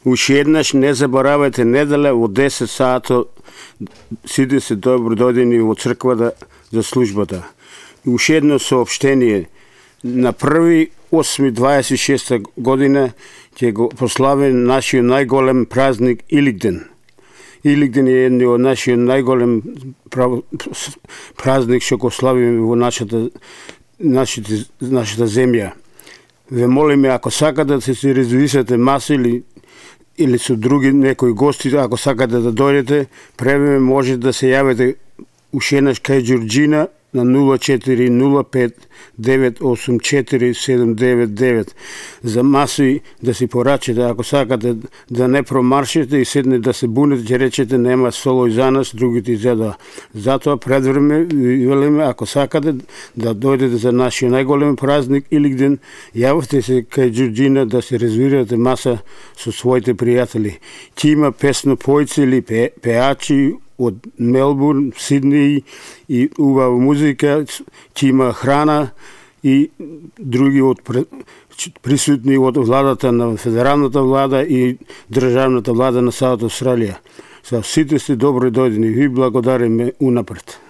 Уште еднаш не заборавајте недела во 10 сато сите се добродојдени во црквата за службата. И уште едно соопштение. На 1.8.26 година ќе го прославиме нашиот најголем празник Илигден. Илигден е еден од нашиот најголем празник што го славиме во нашата земја. Ве молиме, ако сакате да се резервирате маса или со други некои гости, ако сакате да дојдете, превеме може да се јавите уште еднаш кај Ѓорџина на 0405 984 799 за маси да си порачите. Ако сакате да не промаршите и седне да се бунете, ќе речете нема солој за нас, другите изеда. Затоа предвреме велиме, ако сакате да дојдете за нашиот најголем празник Илигден, јавете се кај Ѓорџина да се резервирате маса со своите пријатели. Ќе има песнопојци или пеачи од Мелбурн, Сиднеј и убава музика, ќе има храна и други од присутни од владата на федералната влада и државната влада на Саут Австралија. Сите сте добро дојдени. Ви благодариме унапред.